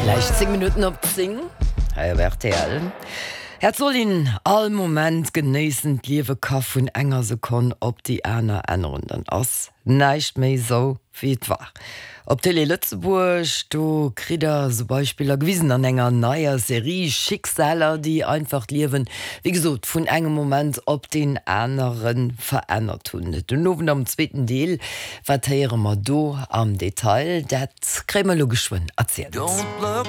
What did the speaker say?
Gläich 10 Minutten op 10 hei op rtl. Et soll een all Moment genéissen, d'Liewe ka vun enger Sekonn op déi aner änneren, dann ass näischt méi sou wéi et war. Op Télé Lëtzebuerg, do kritt der sou Beispiller gewisen an enger neier Serie, Schicksaler, déi einfach d'Liewen, wéi gesot, vun engem Moment op deen anere verännert hunn. Den Owend am zweeten Deel, wat héiere mer do am Detail? Dat kréie mer elo geschwënn erzielt.